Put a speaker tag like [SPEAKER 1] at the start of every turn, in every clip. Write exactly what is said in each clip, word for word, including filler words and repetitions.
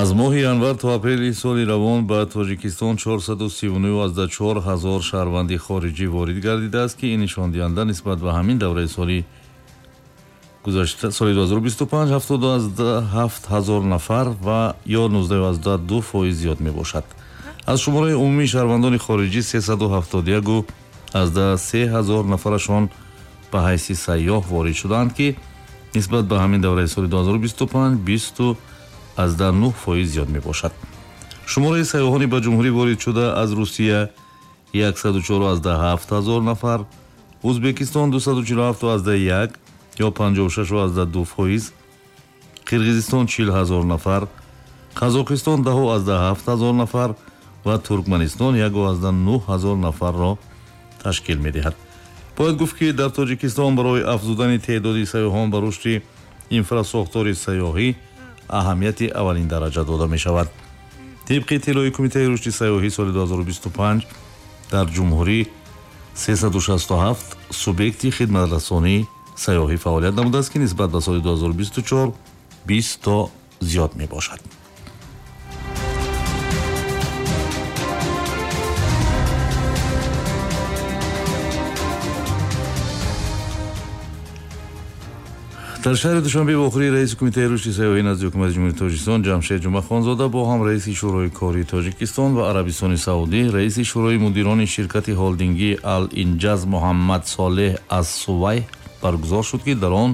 [SPEAKER 1] Аз моҳи январ то апрели соли равон ба Тоҷикистон чорсаду сию нӯҳ ҳазор шаҳрванди хориҷӣ ворид гардидааст, ки ин нишондиҳанда нисбат ба ҳамин давраи соли гузашта соли ду ҳазору бисту панҷ ҳафтоду ҳафт ҳазор нафар ва ё нуздаҳу ду фоиз зиёд мебошад. Аз шумораи умумии шаҳрвандони хориҷӣ сесаду ҳафтоду яку се ҳазор нафарашон ба ҳайси сайёҳ ворид шудаанд, ки нисбат ба ҳамин давраи соли ду ҳазору бисту панҷ бисту нӯҳ фоиз зиёд мебошад. Шумораи сайёҳони ба ҷумҳурӣ ворид шуда аз Русия яксаду чору ҳафт ҳазор нафар, Ӯзбекистон дусаду чилу ҳафту як ё панҷоҳу шашу ду фоиз, Қирғизистон чил ҳазор нафар, Қазоқистон даҳу ҳафт ҳазор нафар ва Туркманистон яку нӯҳ ҳазор нафарро ташкил медиҳад. Бояд гуфт, ки дар Тоҷикистон барои афзудани теъдоди сайёҳон ба рушди инфрасохтори сайёҳӣ аҳамияти аввалин дараҷа дода мешавад. Тибқи иттилои Кумитаи рушди сайёҳӣ соли ду ҳазору бисту панҷ дар ҷумҳурӣ сесаду шасту ҳафт субъекти хидматрасонии сайёҳӣ фаъолият намудааст, ки нисбат ба соли ду ҳазору бисту чор бист то зиёд мебошад. Дар шаҳри Душанбе вохӯрии раиси Кумитаи рушди сайёҳӣ назди Ҳукумати Ҷумҳурии Тоҷикистон Ҷамшед Ҷумъахонзода бо ҳам раиси Шӯрои кории Тоҷикистон ва Арабистони Саудӣ, раиси Шӯрои мудирони ширкати холдингӣ Ал-Инҷаз Муҳаммад Солеҳ ас-Сувайҳ баргузор шуд, ки дар он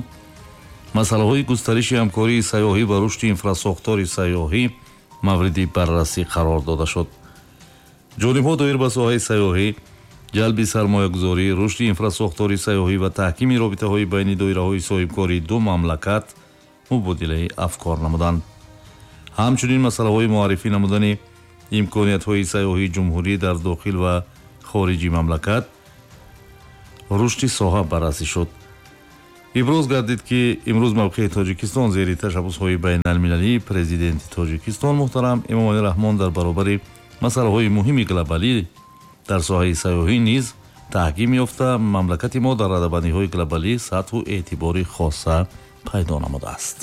[SPEAKER 1] масъалаҳои густариши ҳамкории сайёҳӣ ва рушди инфрасохтори сайёҳӣ мавриди баррасӣ қарор дода шуд. Ҷонибҳо доир ба соҳаи сайёҳӣ, ҷалби сармоягузорӣ, рушди инфрасохтори сайёҳӣ ва таҳкими робитаҳои байни доираҳои соҳибкории ду мамлакат мубодилаи афкор намуданд. Ҳамчунин масъалаҳои муаррифӣ намудани имкониятҳои сайёҳии ҷумҳурӣ дар дохил ва хориҷи мамлакат, рушди соҳа баррасӣ шуд. Иброз гардид, ки имрӯз мавқеи Тоҷикистон зери ташаббусҳои байналмилалии президенти Тоҷикистон муҳтарам Эмомалӣ Раҳмон дар баробари масъалаҳои муҳими глобалӣ дар соҳаи сайёҳӣ низ таҳким ёфта, мамлакати мо дар радабандиҳои глобалӣ сатҳу эътибори хоса пайдо намудааст.